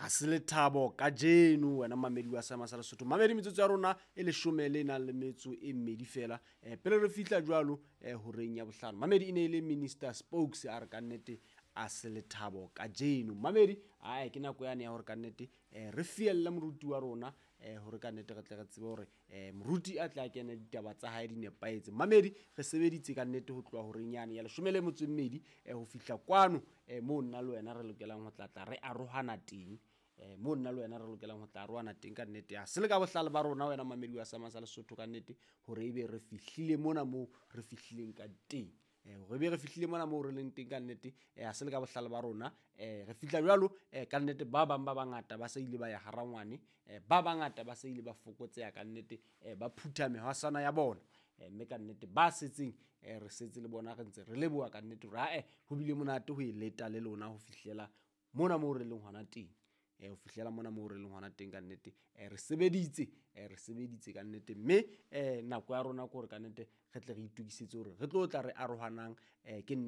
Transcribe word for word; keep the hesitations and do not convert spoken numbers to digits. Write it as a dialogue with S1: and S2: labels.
S1: Ha se lethabo kajeno wena mamedi wa Seema sa Lesotho. Mamedi, metsotso ya rona e leshome le nang le metso e mmedi fela um pele re fihla jwalo um horeng ya bohlano. Mamedi, e ne e le Minister Spokes a re kannete a se lethabo kajeno. Mamedi, ae ke nako yane ya hore kannete um re fielle moruti wa rona um hore kannete re tle re tsebe hore um moruti a tle a kene ditaba tsa hae di nepahetse. Mamedi, re sebeditse kannete ho tloha horeng yane ya leshome le metso e mmedi um ho fihla kwano um moo nna le wena re lokelang ho tlatla re arohana teng, um moo nna le wena re lokelang ho tla arohana teng kannete. Ha se le ka bohlale ba rona wena mamedi wa Seema sa Lesotho kannete hore ebe re fihlile mona moo re fihlileng ka teng, hore ebe re fihlile mona moo re leng teng kannete. Ha se le ka bohlale ba rona um re fihla jwalo um kannete. Ba bang ba bangata ba se ile ba ya harangwane, um ba bangata ba se ile ba fokotseha kannete, um ba phutha mehwasana ya bona, mme kannete ba setseng um re setse le bona re ntse re leboha kannete hore ae ho bile monate ho e leta le lona ho fihlela mona moo re leng hona teng, um ho fihlela mona moo re leng hona teng kannete. um re sebeditse, um re sebeditse kannete, mme um nako ya rona ke hore kannete re tle re itokisetse hore re tlo tla re arohanang. um ke